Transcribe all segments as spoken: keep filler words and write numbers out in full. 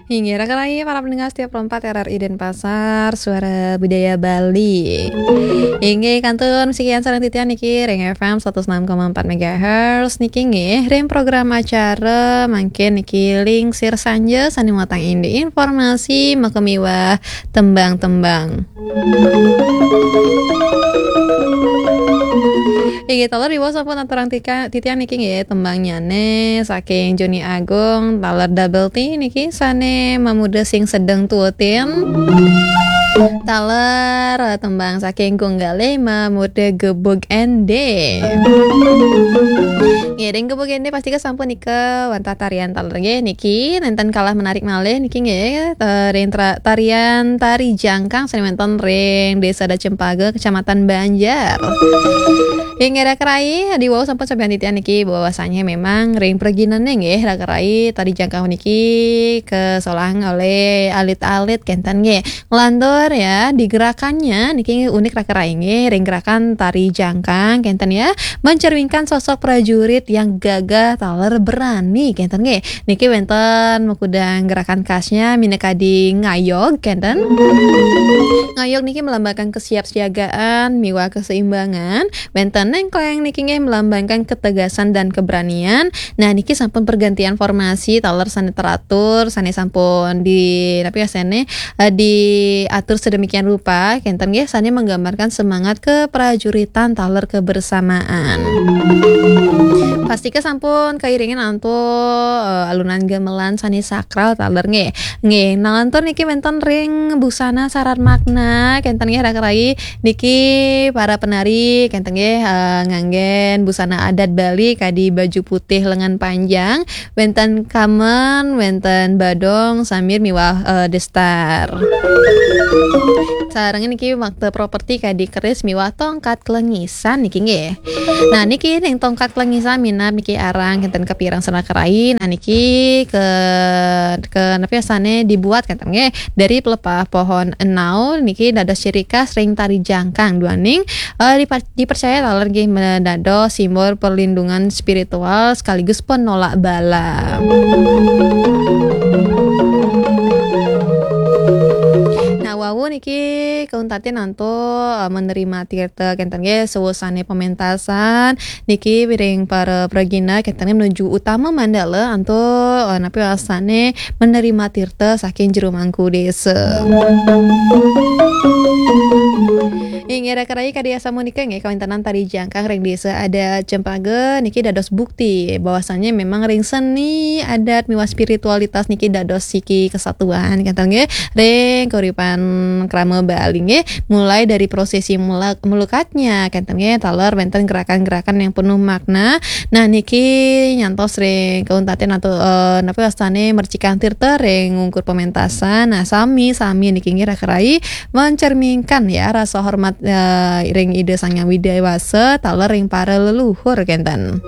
Inggih, raka rayi para pendengar setia Pro empat R R I Denpasar, Suara Budaya Bali. Inggih, kantun sekian sareng titiang niki ring F M seratus enam koma empat megahertz niki nggih, ring program acara mangkin niki Lingsir Sanja sane muatang indik informasi makamiwah tembang-tembang. Inggih, taler iwau sampun aturang tika-, titiang niki nggih, tembangnyane saking Joni Agung, taler Double T niki sane mamuda sing sedeng tuutin. Taler, eh, tembang saking Gung Galih mamuda Gebug Ende. Nggih, ring Gebug Ende pasti ke sampun nika wantah tarian taler nggih niki, nenten kalah menarik malih niki nggih, eh, ring tra-, tarian tari jangkang sane wenten ring Desa Adat Cempaka, Kecamatan Banjar. Inggih, raka rayi, diwau sampun sampeyan titiang niki bahwasanya memang ring preginane nggih, raka rayi, tari jangkang niki kesolang oleh alit-alit kenten nggih. Nglantur ya, di gerakannya niki unik raka rayi nggih, ring gerakan tari jangkang kenten ya, mencerminkan sosok prajurit yang gagah taler berani kenten nggih. Niki wenten makudang gerakan khasnya minakadi ngayog kenten. Ngayog niki melambangkan kesiapsiagaan miwah keseimbangan. Wenten nengkleng niki nggih melambangkan ketegasan dan keberanian. Nah, niki sampun pergantian formasi taler sane teratur, sane sampun di, napi ya, sane, eh, diatur sedemikian rupa kenten nggih, sane menggambarkan semangat keprajuritan taler kebersamaan. Pastika sampun kairingan antuk, eh, alunan gamelan sane sakral taler nggih. Nggih, nalantur niki wenten ring busana sarat makna kenten nggih, raka rayi. Niki para penari kenten nggih, eh, nganggen busana adat Bali kadi baju putih lengan panjang, wenten kamen, wenten badong, samir miwah, eh, destar. Sareng niki makta properti kadi keris miwah tongkat kelengisan niki nggih. Nah, niki ning tongkat kelengisan minab niki arang kenten kapireng sareng raka rayi. Nah, niki ke, ke napi asane dibuat kenten nggih dari pelepah pohon enau niki dados ciri khas ring tari jangkang duaning, eh, dipa-, dipercaya taler nggih dados simbol perlindungan spiritual sekaligus penolak bala. Nah, wau niki kauntatin antuk, eh, menerima tirta kenten nggih sawusane pementasan niki ring para pragina kenten menuju utama mandala antuk, eh, napi wasane menerima tirta saking jero mangku desa. Inggih, raka rayi, kadi asamunika nggih, kawéntenan tari jangkang ring Desa Adat Cempaka niki dados bukti bahwasanya memang ring seni adat miwah spiritualitas niki dados siki kesatuan, kenten nggih, ring kauripan krama Bali nggih. Mulai dari prosesi mulak-, melukatnya, kenten nggih, taler wénten gerakan-gerakan yang penuh makna. Nah, niki nyantos ring kauntatin antuk, eh, napi wastane mercikan tirta ring ungkur pementasan. Nah, sami-sami niki nggih raka rayi mencerminkan ya rasa hormat, eh, ring Ida Sang Hyang Widhi Wasa, taler ring para leluhur kenten.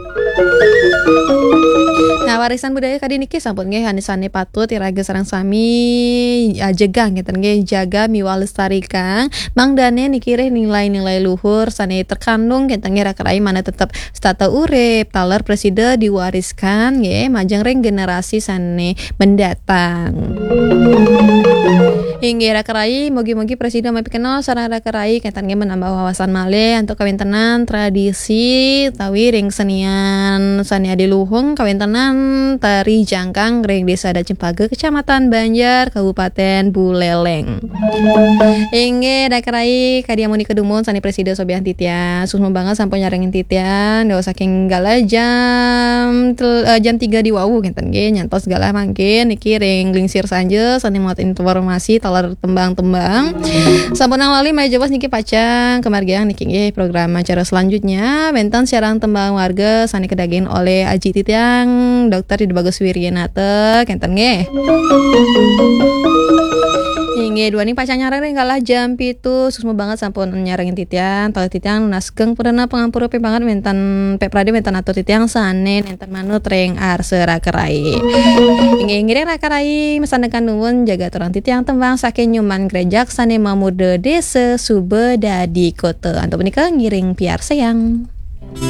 Nah, warisan budaya kadi niki sampun nggih anisane patut iraga sareng sami, eh, jegang kenten nggih, jaga miwah lestarikan. Mangdane niki ring nilai-nilai luhur sane terkandung kenten nggih raka rayi mangda tetep setata urip, taler prasida diwariskan nggih majeng ring generasi sane mendatang. Inggih raka rayi, mugi-mugi prasida mapikenel sareng raka rayi kenten nggih menambah wawasan malih antuk kawéntenan tradisi utawi ring senian sane adiluhung kawéntenan tari jangkang ring Desa Adat Cempaka, Kecamatan Banjar, Kabupaten Buleleng. Inggih, raka rayi, kadi amunika dumun sane prasida sobiahang titiang. Suksma banget sampun nyarengin titiang. Dados saking galah jam tel-, eh, jam tiga di wau kenten nggih. Nyantos galah mangkin niki ring Lingsir Sanja sane muat informasi taler tembang-tembang. Sampunang lali malih jebos niki pacang kamargiang niki nggih program acara selanjutnya. Wenten siaran tembang warga sane kadaging oleh Aji titiang, Doktor Ida Bagus Wiryanata, kenten nggih. Inggih, duaning pacang nyarengin ring galah jam pitu, suksma banget sampun nyarengin titiang, taler titiang nunas geng purana pangampura pipangat wenten pek prade wenten atur titiang sane nenten manut ring arsa raka rayi. Inggih, ngiring raka rayi masandekan nuwun jaga aturang titiang tembang saking Nyoman Grejak sane mamuda Desa Suba Dadi Kota. Antuk punika ngiring piarsayang.